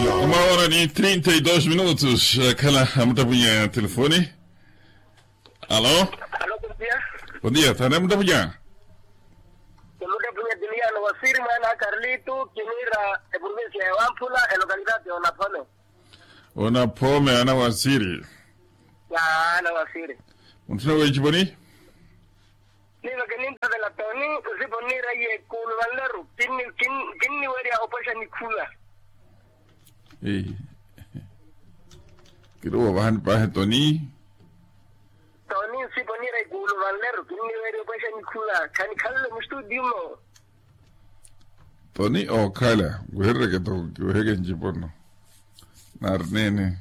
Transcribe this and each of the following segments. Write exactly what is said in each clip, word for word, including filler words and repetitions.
Uma hora ni trinta e dos minutos. Khala amuttapunya telefoni. Alo. Alo, bondia. Bondia, thana amuttapunya. Amuttapunya diliano wasiri mwana karlitu kinira, eprovincia ya wamphula elokalidade onaphome. Onaphome ana wasiri. Ya ana wasiri. Munthuna wenci poni. Niva kinimphavela toni nsipo nira ye kuulu vanleru. Kinniwerya opwexa nikhuva. Kiruwa vahani pahe toni. Toni nsipo nira ye kuulu vanleru kinniwerya opwexa nikhuva khanikhalele mustudio mo. Toni okhala nkuherereke to kiweheke ncipo no. Nari nene.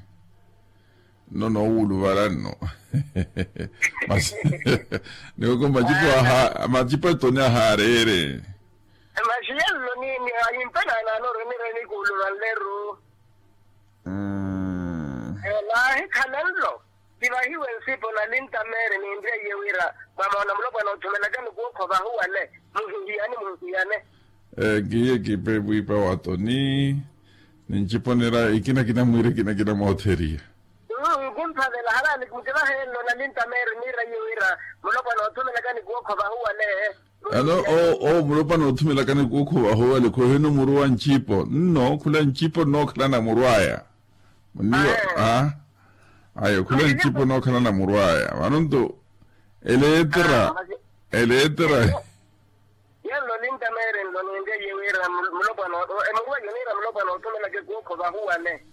Nno noowuluvala nno. Masi niwoko macipo aha macipo etoni ahareere. Masi yello ni ni ayimpela nano renire ni kuuluva nleru. Naahi khala nlo. Tivahiwe nsipo nalinta meeri ninriye wira mwamoona mulopwana othumelaka nikuwo khovahuwale. Muhihiyane muhihiyane. Kiye kipe wiipa wa toni. Ninciponera ikinakina mwiira ikinakina mootheriya. Nkumphavela halali nkivaheelo nalinta meeri niiraye wira mulopwana othumelaka nikuwo khovahuwale. Ano owo mulopwana othumelaka nikuwo khovahuwale khohino muru wa ncipo nno khula ncipo nnookhalana muru aya. Muniwo. Ayo khula ncipo nookhalana muru aya vano nto eleetera. Eleetera. Yelo ninta meere nlo ninriye wira mulopwana emuru ayo niira mulopwana othumelaka ekuwo khovahuwale.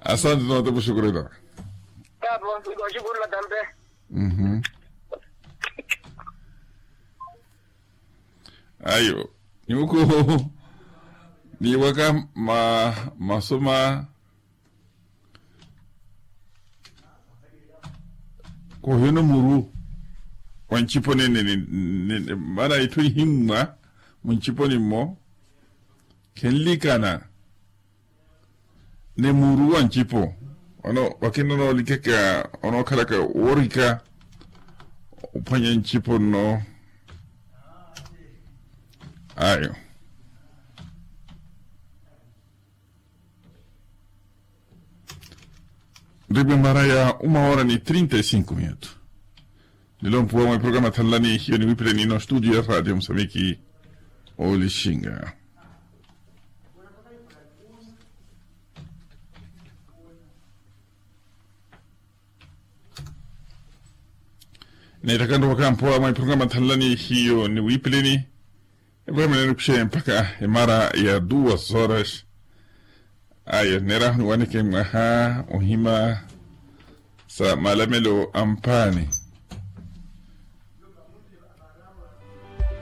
Asante noota mushukurela. Tapo nikoxukurela tampe. Ayo nyuku. Niwaka ma masoma. Khohino muru wa ncipo nene mana itthu ihimmwa munciponi mmo khenlikana. Ni muru wa ncipo ono wakina onoolikaka onookhalaka woorika ophwanya ncipo nno. Ayo. Nripwe mara ya uma hora ni trinta e cinco minuto. Nilompuwa mwa eprograma thanlani hiyo niwipileni ino studio ya radio musambiki. Olixinga. Neettaka nrowa kampowa mwa eprograma thanlani hiyo niwipileni. Eprograma nenukuxe mpakha emara ya duas horas. Ayo neeraha oniwaneke mwaha ohima sa malamelo a mpaani.